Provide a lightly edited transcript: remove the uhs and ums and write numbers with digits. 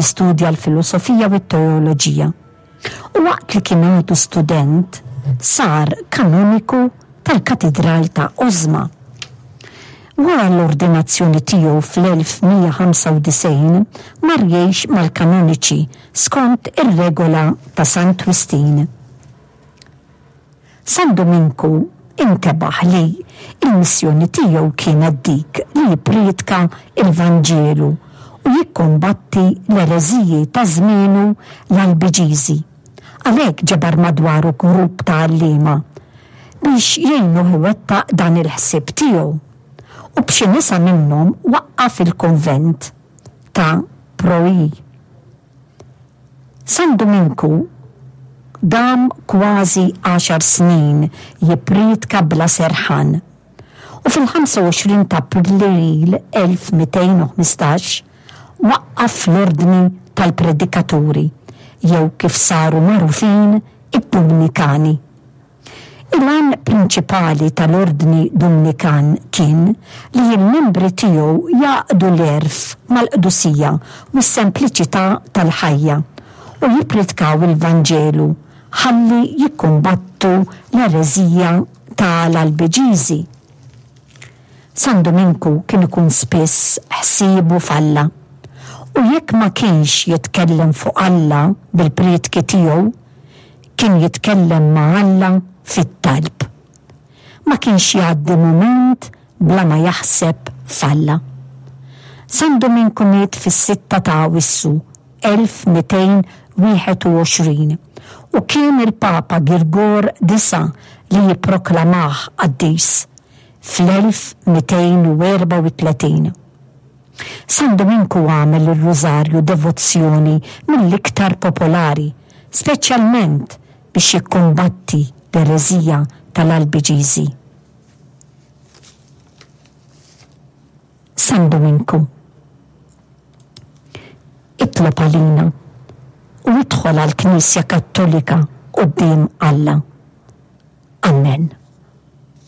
Studja l-filosofija u t-teoloġija u waqt li kien għadu student sar kanoniku tal-Katidral ta' Osma. Wara l-ordinazzjoni tiegħu fl-1195 mar jgħix mal-kanoniċi skont ir-regola ta' Sant Wistin. San Duminku intebaħ li l-missjoni tiegħu kienet dik li jipprietka l-Vanġelu u jikkumbatti l-ereżiji ta' żmienu l-Albiġiżi. Għalhekk ġabar madwaru grupp ta' għalliema biex jgħinuh iwettaq dan il-ħsieb tiegħu u b'xi nisa minnhom waqqaf il-kunvent ta' Proi. San Duminku dam kważi għaxar snin jipprietka bla serħan u fil-25 ta' April 1215 waqqaf l-Ordni tal-Predikaturi jew kif saru magħrufin id-Dumnikani. Il-għan prinċipali tal-Ordni Dumnikan kien li l-membri tiegħu jgħaqqdu l-għerf mal-qdusija u s-sempliċità tal-ħajja u jippritkaw il-Vanġelu ħalli jikkumbattu l-ereżija ta' l-Albiġiżi. San Duminku kien ikun spiss ħsiebu f'Alla u jekk ma kienx jitkellem fuq Alla bil-prietki tiegħu, Kien jitkellem ma' Alla fit-talb. Ma kienx jgħaddi mument bla ma jaħseb f'Alla. San Duminku miet fis-sitta ta' Awissu 1221 u kien il-Papa Girgor Disa' li jipproklamah qaddis fl-1234. San Duminku għamel ir-Rużarju devozzjoni mill-iktar popolari, speċjalment biex jikkumbatti l-ereżija tal-Albiġiżi. San Duminku, itlob għalina u idħol għall-Knisja Kattolika quddiem Alla. Ammen.